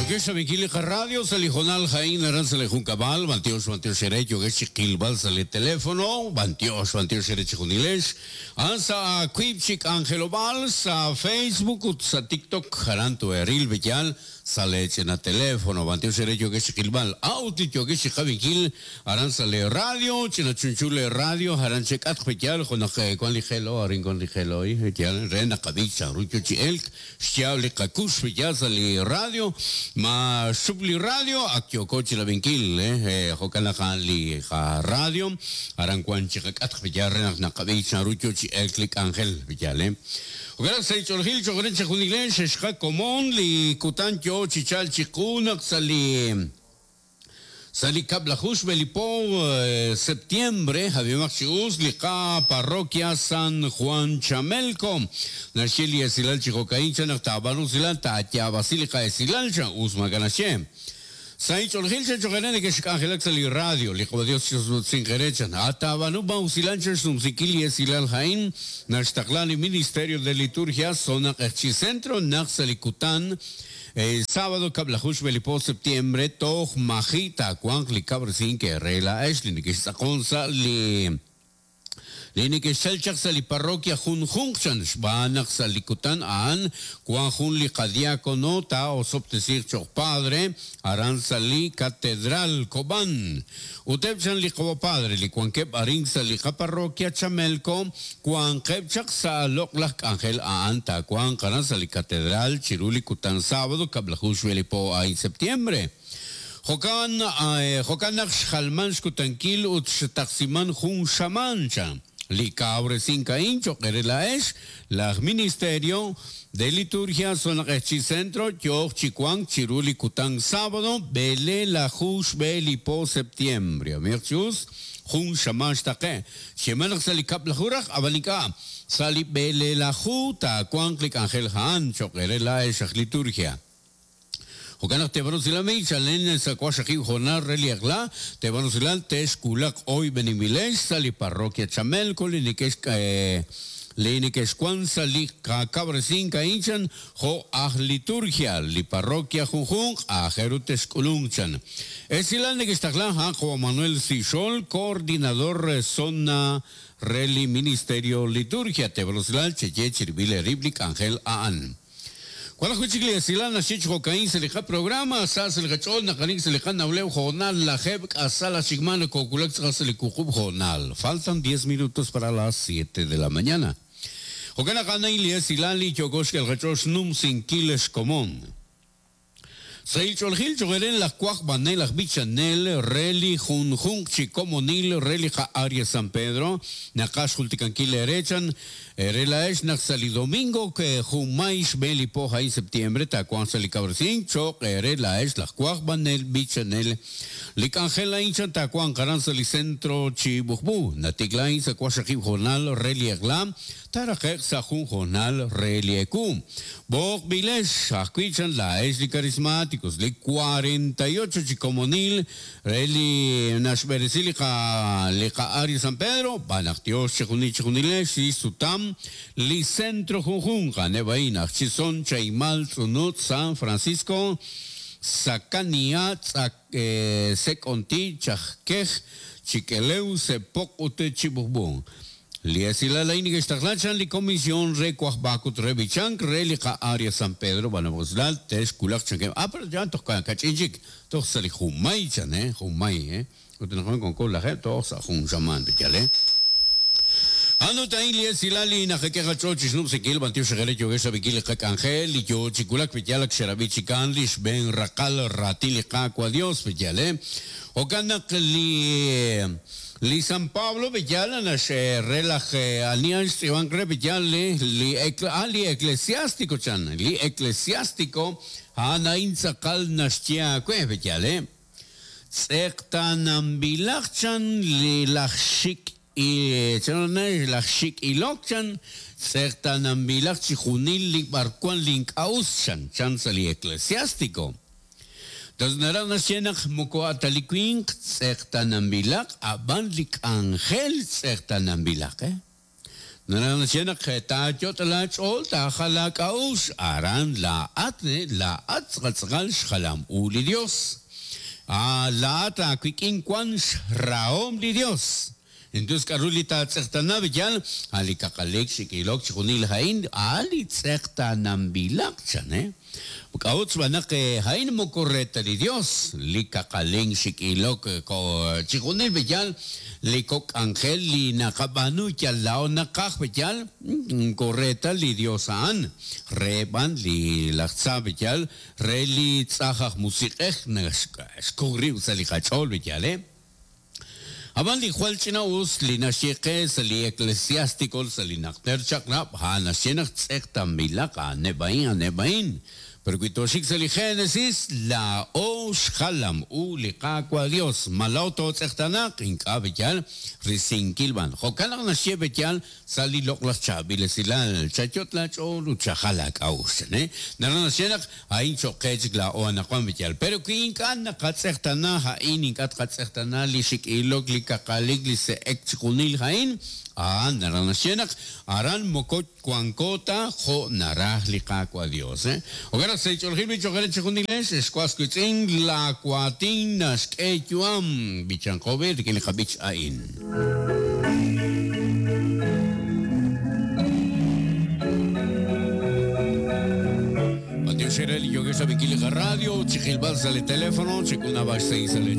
Yokex rab'inkil li qaradio sa' li hoonal a'in aran sa' li junkab'al, b'antiox b'antiox eere yokex chi qilb'al sa' li telefono, b'antiox b'antiox eere chejunilex. A'an sa' wiib' chi k'anjelob'aal sa' Facebook ut sa' TikTok aran too'eril b'eyal sa' lee ch'ina telefono, b'antiox eere yookex chi qilb'al. A'ut li yookex chi qab'inkil aran sa' lee radio, ch'ina chunchu lee radio aran chek'atq b'eyal jo' naq wan li jelo, arin wan li jelo, b'eyal re naqab'i chanru yo chi elk xyaab' li qakux b'eyal sa' li radio, ma xchup li radio ak yooko chi rab'inkil, jo'kan naq a'an li qaradio aran wan chi qak'atq b'eyal re naq naqab'i chanru yo chi elk li k'anjel b'eyal. Jo'kan naq sa' li ch'oolejil cho'q re chejunilex xexqa komon li kutan yo chi chalk chiqu naq sa' li sa' li kab'laju xb'e li po septiembre ab'imaq chi us li qa parroquia San Juan Chamelco naxye li esilal chi jo'ka'in chan naq taab'aanu usilal taayaab'asi li qa'esilal chan us maak'a' naxye. Sa' inch'oolejil chan cho'q eere nekexk'anjelak sa' li radio, li Q'wa Dios chixsutsinq eere chan. A taab'aanu b'an usilal chan xnumsinkil li esilal a'in naxtaqla li Ministerio de Liturgia Zona Q'eqchi' Centro naq sa' li kutan sábado kab'laju xb'e li po septiembre toj maji' taawanq li kab'resink eere laa'ex li nekextz'aqon sa' li Li neke'xchal chaq sa' li parroquia junjunq chan, xb'aan naq sa' li kutan a'an wan jun li qadiakono taa'osob'tesiiq choq' padre aran sa' li Catedral Cobán. Ut eb' chan li qawa' padre li wankeb' arin sa' li qaparroquia Chamelco wanqeb' chaq sa' loq'laj k'anjel a'an taawanq aran sa' li Catedral chiru li kutan sábado kab'laju xb'e li po a'in septiembre. Jo'kan, jo'kan naq xjalman xkutankil ut xtaqsiman jun xamaan, chan. Li kawresink a'in cho'q eere laa'ex, laj Ministerio de Liturgia Zona Q'eqchi' Centro yooq chi wank chiru li kutan sábado b'eleelaju xb'e li po septiembre. Amiiq chi us, jun xamaan xtaqe'. Xyeeman naq sa' li kab'laju raj, ab'an ink'a', sa' li b'eleelaju taawanq li k'anjel a'an cho'q eere laa'ex aj Liturgia. Jo'kan naq teeb'aanu usilal mey chalen sa' waqxaqib' hoonal re li eq'la, teeb'aanu usilal texwulaq oyb'eninb'ilex sa' li parroquia Chamelco li nekex li nekexwan sa' li qakawresink a'in chan jo' aj liturgia li parroquia junjunq aajel ru texk'ulunq chan. Esilal nekextaqla a'an Juan Manuel Sixol, coordinador zona re li Ministerio Liturgia. Teeb'aanu usilal cheye chirib'il eerib' li k'anjel a'an. Wan ajwi' chik li esilal naxye chi jo'ka'in sa' li qaprograma, sa sa' li qach'ool naqanik sa' li qanawleb' hoonal lajeeb' k'asal aj chik maa nokowulak tz'aqal sa' li wuqub' hoonal. Faltan diez minutos para las siete de la mañana. Jo'kan naq a'an a'in li esilal li yooko xk'el qach'ool xnumsinkil xkomon. Sahil ch'oolejil cho'q eere laj wajb'anel aj b'ichanel re li junjunq chi komonil re li qa'área San Pedro, naqaj xjultikankil eere chan eere laa'ex naq sa' li domingo junmay xb'een li po a'in septiembre taawanq sa' li kawresink cho'q eere laa'ex laj wajb'anel b'ichanel. Li k'anjel a'in chan taawanq aran sa' li centro chi B'ujb'u, natikla a'in sa' waqxaqib' hoonal re li eq'la, Taaraqe'q sa' jun hoonal re li ewu. B'oqb'ilex ajwi' chan laa'ex li Carismáticos, li 48 chi komonil re li naxb'eresi li qa li qa Área San Pedro, b'an naq Dios chejunil chejunilex li sutam li centro junjunq, a'aneb' a'in, aj Chison, Chaimal, Tz'unut, San Francisco, Sakania, Tz'ak, Sek'onti, Chajkej, Chik'elew, Sepoq ut Chib'ujb'u. Li esilal a'in neke'xtaqla chan li Comisión re Wajb'ak ut re B'ichank re li qa-Área San Pedro b'anab' usilal texwulaq chankeb' ah pero ya toj kach'in chik toj sa' li junmay chan eh junmay eh ut anaqwan wanko lajeeb' toj sa' jun xamaan peyal eh. A'an ut a'in li esilal li naqak'e qach'ool chi xnub'sinkil b'antiox eere yookex rab'inkil li qak'anjel li yoo chi wulak peyal ak xerab'i chikan li xb'een raqal raatin li Qaawa' Dios peyal eh. Jo'kan naq li Li San Pablo b'eyal naxre laj ani a'an xtz'iib'ank re b'eyal li li a li Eclesiástico chan, li Eclesiástico a'an a'in tz'aqal naxye aawe b'eyal e. Tz'eqtaananb'ilaq chan li laj xik' chan laj xik' ilok chan, tz'eqtaananb'ilaq chijunil li b'arwan li ink'a' us chan, chan sa' li Eclesiástico. Toj naraj naxye naq moko a' ta li winq tz'eqtaananb'ilaq, a'b'an li k'anjel tz'eqtaananb'ilaq. Naraj naxye naq taayot' laach'ool taajal laak'a'uxl, aran laa'at laa'at tz'aqal xjalam u li Dios. Laa'at aawik'in wan xrahom li Dios. Entonces k'a'ru li taatz'eqtana b'iyal, a' li kaqalik, xik'ilok, chixjunil a'in, a' li tz'eqtaananb'ilaq chan, K'a'ut xb'aan naq a'in moko re ta li Dios, li kaqalink, xik'ilok, chixjunil b'iyal, li kok' k'anjel li naqab'aanu yal laa'o naqaj b'iyal, moko re ta li Dios a'an, re b'an li laj tza b'iyal, re li tz'aj aj musiq'ej naxkoj rib' sa' li qach'ool b'iyal, Ab'an li jwal ch'ina'us li naxye qe sa' li Eclesiástico sa' li Najter Chaq'rab', a'an naxye naq tz'eqtanb'ilaq a'aneb' a'in, a'aneb' a'in. Pero wi tooxik sa' li Génesis, laa'o xjalam u li Qaawa' Dios. Ma laa'o tootz'eqtaanaq? Ink'a' b'iyal, risinkil b'an. Jo'kan naq naxye b'iyal sa' li loq'laj chaab'il esilal, chayot' laach'ool ut chajal aak'a'uxl, chan, Naraj naxye naq a'in cho'q qe chik laa'o anaqwan b'iyal. Pero wi ink'a' naqatz'eqtaana a'in, ink'a' tqatz'eqtaana li xik'ilok, li kaqalik, li se'ek, chixjunil a'in, a'an naraj naxye naq aran moko wanko ta jo' naraj li Qaawa' Dios. Jo'kan naq sa' li ch'oolejil b'ich cho'q eere chejunilex, ex was wiitz'in, laawaatin naxk'e yu'am. B'ichanqo b'i' rik'in li qab'ich a'in. B'antiox eere li yookex rab'inkil li qaradio, chi qilb'al sa' li teléfono, chek'ul naab'al xsahil sa' lee.